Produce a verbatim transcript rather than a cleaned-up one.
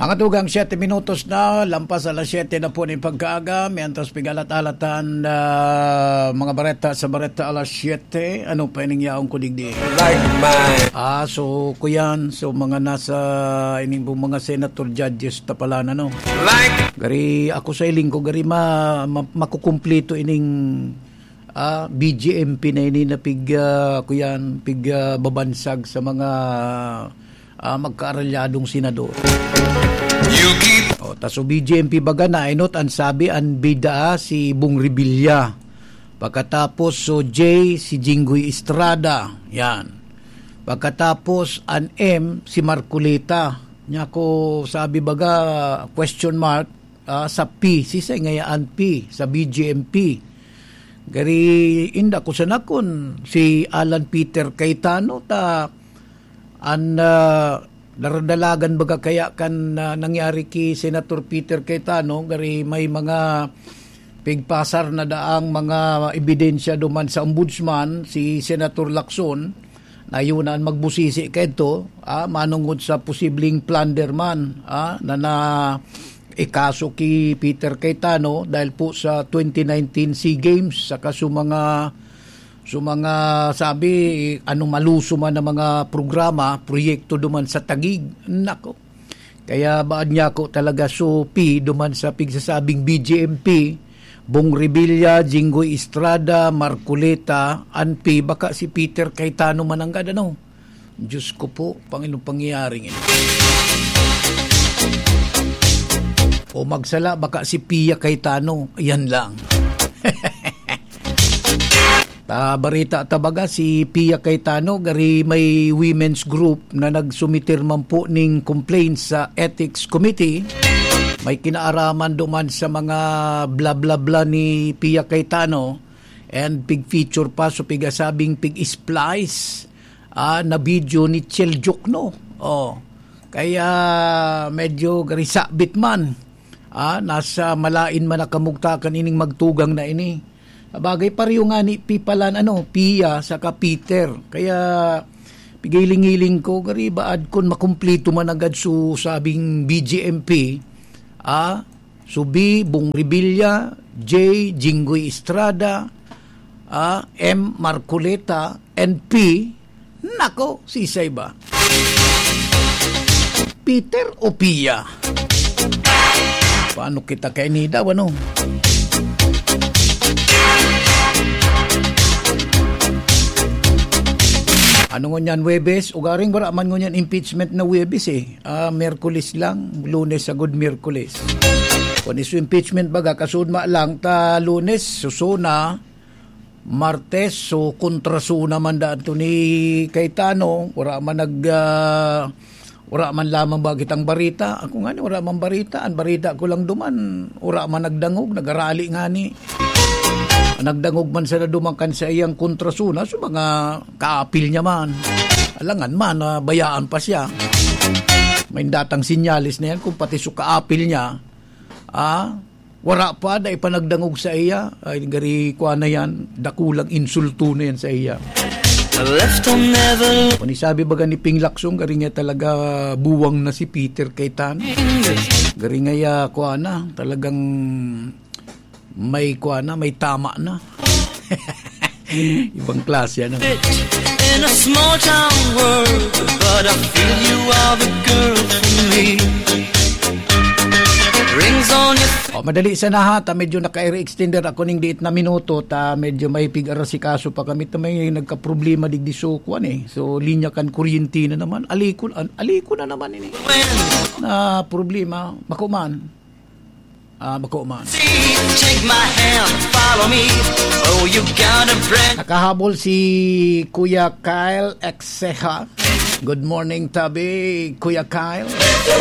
Mga tugang, siyete minutos na, lampas alas siyete na po ning pagkaaga. Mientras pigalat-alatan, ah, mga bareta sa Bareta alas siyete. Ano pa ining yaon ko digdi? Like mine. Ah, so, kuyan. So, mga nasa ining pong mga senator judges ta pala na, no? Like. Gari, ako sa hiling ko, gari ma-, ma-, makukumplito ining, ah, B J M P na ini na pig, ah, kuyan, pig, ah, babansag sa mga, ah, magkaaralyadong senador. You keep. O, ta so B J M P baga na, inot an sabi, an bida si Bong Revilla. Pagkatapos, so J, si Jinggoy Estrada. Yan. Pagkatapos, an M, si Marcoleta. Nya ko sabi baga, question mark, ah, sa P, si Sengayaan P, sa B J M P. Gari, inda ko sana kun si Alan Peter Cayetano, ta an, ah, daradalagan baga kaya kan, ah, nangyari ki Senator Peter Cayetano, gari may mga pigpasar na daang mga ebidensya duman sa ombudsman, si Senator Lacson, na yun ang magbusisi kaito, ah, manungod sa posibleng plunder man, ah, na na ikaso ki Peter Cayetano dahil po sa twenty nineteen SEA Games, saka sa mga, sa mga sabi, ano, maluso man ang mga programa, proyekto duman sa Taguig. Nako. Kaya baad niya ako talaga supi duman sa pigsasabing B J M P, Bong Revilla, Jinggoy Estrada, Marcoleta, an P, baka si Peter Cayetano mananggad, ano? Diyos ko po, Panginoon, pangyayaring ito. O magsala, baka si Pia Cayetano. Yan lang. Ta barita ta baga, si Pia Cayetano, gari may women's group na nagsumitir man po ning complaint sa Ethics Committee. May kinaaraman duman sa mga bla-bla-bla ni Pia Cayetano and pig-feature pa, so pigasabing pig-splice, ah, na video ni Chel Diokno. Oh, kaya medyo gari sabit man. Ah, nasa malain man na kamugtakan ining magtugang na ini. Sabagay, pareho nga ni Pipalan, ano, Pia saka Peter. Kaya, pigiling-hiling ko, gari baad kun makumplito man agad su sabing B J M P, ah, su B, Bong Revilla, J, Jinggoy Estrada, ah, M, Marcoleta, and P, nako, sisay ba? Peter o Pia? Paano kita kaini daw, ano? Ano ngunyan, Huwebes? Ugaring wala man ngunyan impeachment na Huwebes, eh. Ah, Miyerkules lang, Lunes sagod Miyerkules. Kun isu impeachment baga, kasudma lang ta Lunes, susuna, Martes, so kontrasuna man daan to ni Cayetano, wala man nag, ah, wala man lamang ba kitang barita. Ako nga ni, wala man barita. Ang barita ko lang duman, wala man nagdangog, nagarali nga ni. Nagdangog man sana duman kan sa iyang kontrasuna, so mga kaapil niya man. Alangan man, ah, bayaan pa siya. May datang sinyalis na yan kung pati so kaapil niya, ah, wala pa, dai pa nagdangog sa iya. Ay, gari, kwa na yan. Dakulang insulto na yan sa iya. Left on never. Kung isabi baga ni Ping Lacson, gari nga talaga buwang na si Peter Cayetano. Gari nga ya, kwa na, talagang may kwa na, may tama na. Ibang klase, ano? In a small town world, but I feel you are the girl for me. Rings on your. O, madali sana ha, ta medyo naka-extender ako ning diit na minuto, ta medyo may pig-arasikaso pa kami, ta may nagkaproblema digdi so kwan eh. So, linya kan kuryente na naman. Aliko, an-, aliko na naman ini. When. Na problema, bako man. Ah, bako man. Take my hand, follow me. Oh, you got a brand. Nakahabol si Kuya Kyle Exeha. Good morning, tabi, Kuya Kyle.